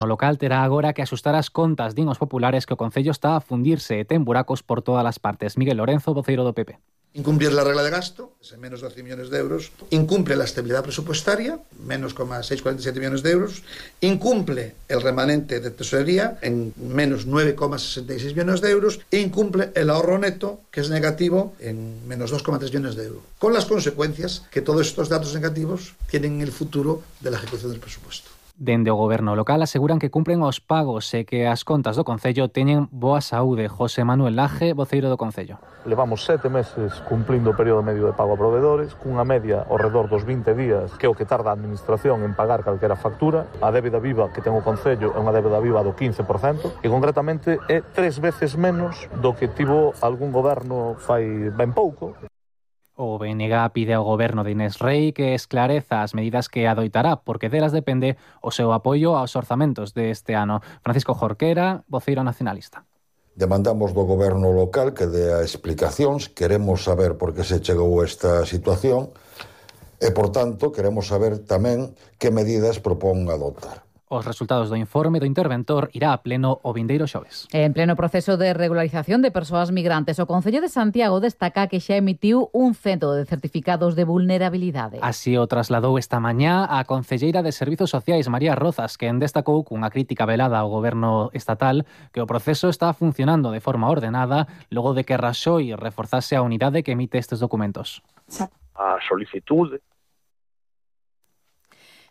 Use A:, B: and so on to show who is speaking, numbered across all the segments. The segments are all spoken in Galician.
A: O local terá agora que axustar as contas, din os populares, que o Concello está a fundirse e ten buracos por todas as partes. Miguel Lorenzo, voceiro do PP.
B: Incumplir la regla de gasto, es en menos 12 millones de euros. Incumple la estabilidad presupuestaria, menos 6,47 millones de euros. Incumple el remanente de tesorería, en menos 9,66 millones de euros. E incumple el ahorro neto, que es negativo, en menos 2,3 millones de euros. Con las consecuencias que todos estos datos negativos tienen en el futuro de la ejecución del presupuesto.
A: Dende o goberno local aseguran que cumpren os pagos e que as contas do Concello teñen boa saúde. José Manuel Laje, voceiro do Concello.
C: Levamos 7 meses cumplindo o período medio de pago a proveedores, cunha media ao redor dos 20 días, que é o que tarda a administración en pagar calquera factura. A débeda viva que ten o Concello é unha débeda viva do 15%, e concretamente é 3 veces menos do que tivo algún goberno fai ben pouco.
A: O BNG pide ao goberno de Inés Rei que esclareza as medidas que adoitará, porque delas depende o seu apoio aos orzamentos deste ano. Francisco Jorquera, voceiro nacionalista.
D: Demandamos do goberno local que dé explicacións, queremos saber por que se chegou a esta situación e, por tanto, queremos saber tamén que medidas propón adoptar.
A: Os resultados do informe do interventor irá a pleno o vindeiro xoves.
E: En pleno proceso de regularización de persoas migrantes, o Concello de Santiago destaca que xa emitiu un cento de certificados de vulnerabilidade.
A: Así o trasladou esta mañá a concelleira de Servizos Sociais, María Rozas, que destacou cunha crítica velada ao goberno estatal que o proceso está funcionando de forma ordenada logo de que Raxoi reforzase a unidade que emite estes documentos.
F: A solicitude.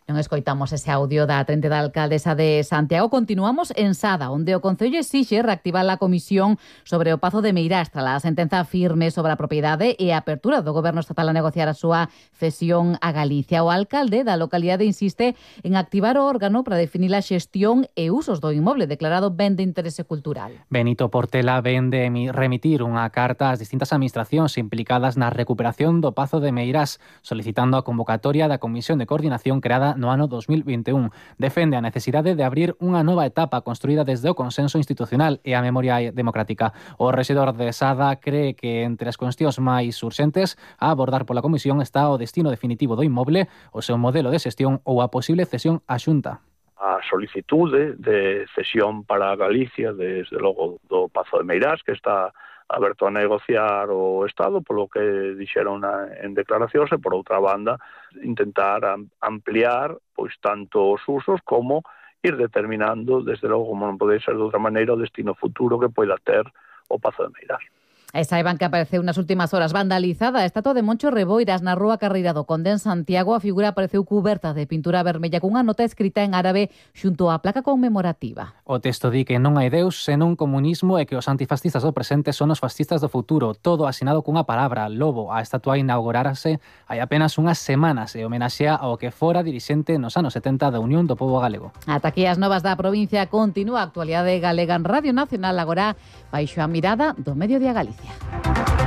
E: Non escoitamos ese audio da trente da alcaldesa de Santiago. Continuamos en Sada, onde o Concello exixe reactivar a comisión sobre o Pazo de Meirás tras a sentenza firme sobre a propiedade e a apertura do goberno estatal a negociar a súa cesión a Galicia. O alcalde da localidade insiste en activar o órgano para definir a xestión e usos do inmoble declarado ben de interese cultural.
A: Benito Portela ven de remitir unha carta ás distintas administracións implicadas na recuperación do Pazo de Meirás, solicitando a convocatoria da Comisión de Coordinación creada no ano 2021. Defende a necesidade de abrir unha nova etapa construída desde o consenso institucional e a memoria democrática. O rexedor de Sada cree que entre as cuestións máis urxentes a abordar pola Comisión está o destino definitivo do inmoble, o seu modelo de xestión ou a posible cesión á Xunta.
F: A solicitude de cesión para Galicia, desde logo do Pazo de Meirás, que está aberto a negociar o Estado, polo que dixeron en declaracións, e por outra banda intentar ampliar pois tanto os usos como ir determinando, desde logo, como non pode ser de outra maneira, o destino futuro que poida ter o Pazo de Meirás.
E: E saiban que apareceu nas últimas horas vandalizada a estatua de Moncho Reboiras na rúa Carreira do Conde en Santiago. A figura apareceu cuberta de pintura vermella cunha nota escrita en árabe xunto á placa conmemorativa.
A: O texto di que non hai Deus senón comunismo e que os antifascistas do presente son os fascistas do futuro. Todo asinado cunha palabra, lobo. A estatua inaugurarase hai apenas unhas semanas e homenaxea ao que fora dirixente nos anos 70 da Unión do Pobo Galego.
E: Ata aquí as novas da provincia. Continúa a actualidade galega en Radio Nacional, agora baixo a mirada do Mediodía Galicia.